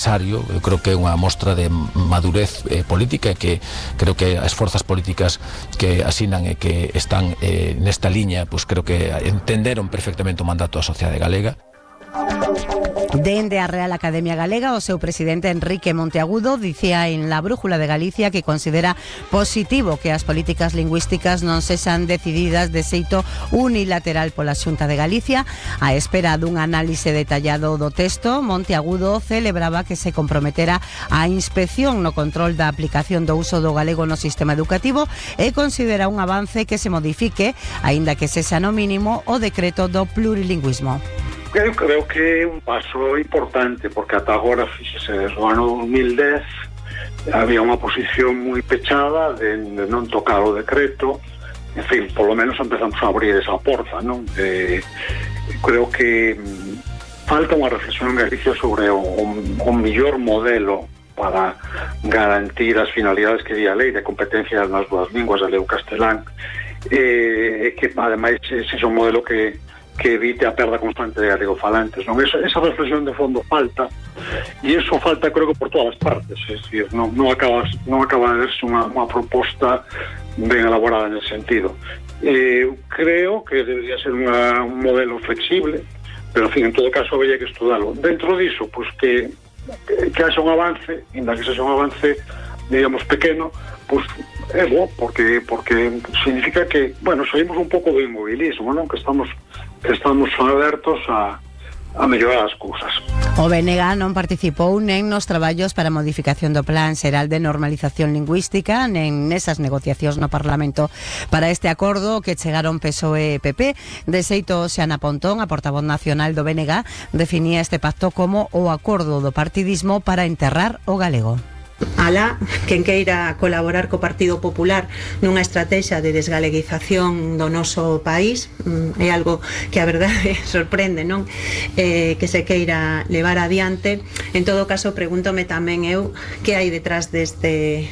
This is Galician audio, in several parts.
Eu creo que é unha mostra de madurez política, que creo que as forzas políticas que asinan e que están nesta liña, pues creo que entenderon perfectamente o mandato da sociedade galega. Dende a Real Academia Galega, o seu presidente Enrique Monteagudo dicía en La Brújula de Galicia que considera positivo que as políticas lingüísticas non sexan decididas de xeito unilateral pola Xunta de Galicia. A espera dun análise detallado do texto, Monteagudo celebraba que se comprometera a inspección no control da aplicación do uso do galego no sistema educativo e considera un avance que se modifique, aínda que sexa no mínimo, o decreto do plurilingüismo. Eu creo que é un paso importante, porque ata agora, fíxese, desde o ano 2010 había unha posición moi pechada de non tocar o decreto. En fin, polo menos empezamos a abrir esa porta, non? Creo que falta unha reflexión en Galicia sobre o mellor modelo para garantir as finalidades que di a lei de competencias nas dúas linguas, galego e castelán, e que ademais sexa un modelo que evite a perda constante de galegofalantes, non? Esa reflexión de fondo falta, e eso falta, creo que por todas as partes, é dicir, non acaba de verse unha proposta ben elaborada nesse sentido. Creo que debería ser un modelo flexible, pero, en fin, en todo caso, habría que estudarlo. Dentro diso, pues que haxa un avance, ainda que sexa un avance, digamos, pequeno, pues é bo, porque significa que, bueno, saímos un pouco do inmobilismo, non? Que estamos abertos a mellorar as cousas. O BNG non participou nen nos traballos para a modificación do Plan Xeral de Normalización Lingüística, nen nesas negociacións no Parlamento para este acordo que chegaron PSOE e PP. De xeito, Xana Pontón, a portavoz nacional do BNG, definía este pacto como o acordo do partidismo para enterrar o galego. Alá, quen queira colaborar co Partido Popular nunha estrategia de desgaleguización do noso país, é algo que a verdade sorprende, non? Que se queira levar adiante. En todo caso, pregúntome tamén eu que hai detrás deste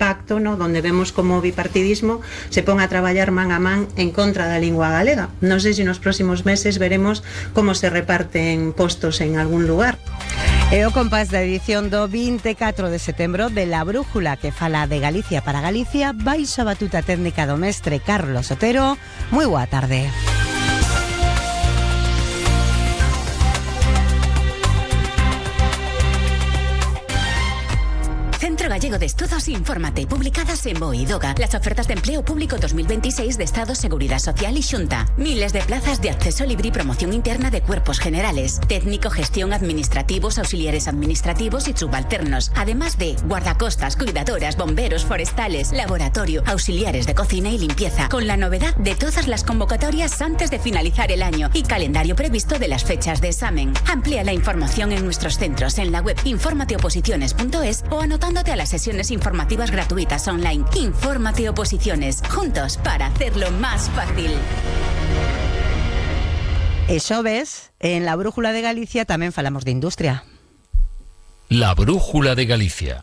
pacto, non? Donde vemos como o bipartidismo se pon a traballar man a man en contra da lingua galega. Non sei se nos próximos meses veremos como se reparten postos en algún lugar. E o compás da edición do 24 de setembro de La Brújula, que fala de Galicia para Galicia, baixo a batuta técnica do mestre Carlos Otero. Moi boa tarde. Centro Gallego de Estudos Infórmate, publicadas en BOE y DOGA. Las ofertas de empleo público 2026 de Estado, Seguridad Social y Xunta. Miles de plazas de acceso libre y promoción interna de cuerpos generales, técnico, gestión, administrativos, auxiliares administrativos y subalternos. Además de guardacostas, cuidadoras, bomberos, forestales, laboratorio, auxiliares de cocina y limpieza. Con la novedad de todas las convocatorias antes de finalizar el año y calendario previsto de las fechas de examen. Amplía la información en nuestros centros en la web informateoposiciones.es o anotándote a las sesiones informativas gratuitas online. Infórmate Oposiciones, juntos para hacerlo más fácil. E xoves, en La Brújula de Galicia tamén falamos de industria. La Brújula de Galicia.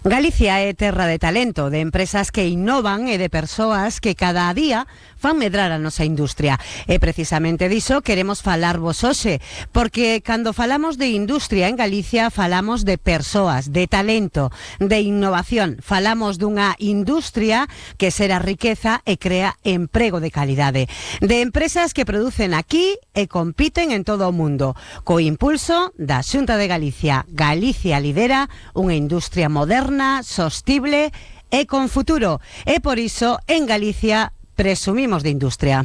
Galicia é terra de talento, de empresas que innovan e de persoas que cada día fan medrar a nosa industria. E precisamente diso queremos falarvos hoxe, porque cando falamos de industria en Galicia falamos de persoas, de talento, de innovación. Falamos dunha industria que xera riqueza e crea emprego de calidade. De empresas que producen aquí e compiten en todo o mundo. Co impulso da Xunta de Galicia, Galicia lidera unha industria moderna, sostible e con futuro. E por iso, en Galicia, presumimos de industria.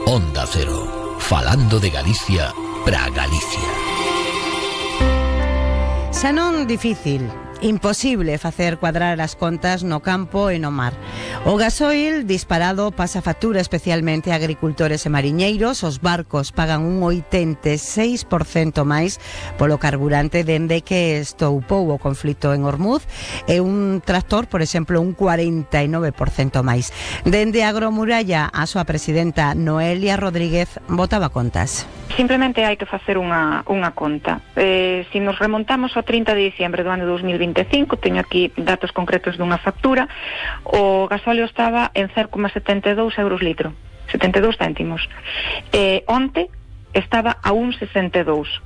Onda Cero, falando de Galicia para Galicia. Xa non difícil, imposible facer cuadrar as contas no campo e no mar. O gasoil disparado pasa factura especialmente a agricultores e mariñeiros. Os barcos pagan un 86% máis polo carburante dende que estoupou o conflito en Hormuz, e un tractor, por exemplo, un 49% máis. Dende Agromuralla, a súa presidenta Noelia Rodríguez botaba contas. Simplemente hai que facer unha conta. Se nos remontamos ao 30 de diciembre do ano 2025, teño aquí datos concretos dunha factura, o gasóleo estaba en 0,72 euros litro, 72 céntimos. Onte estaba a 1,62.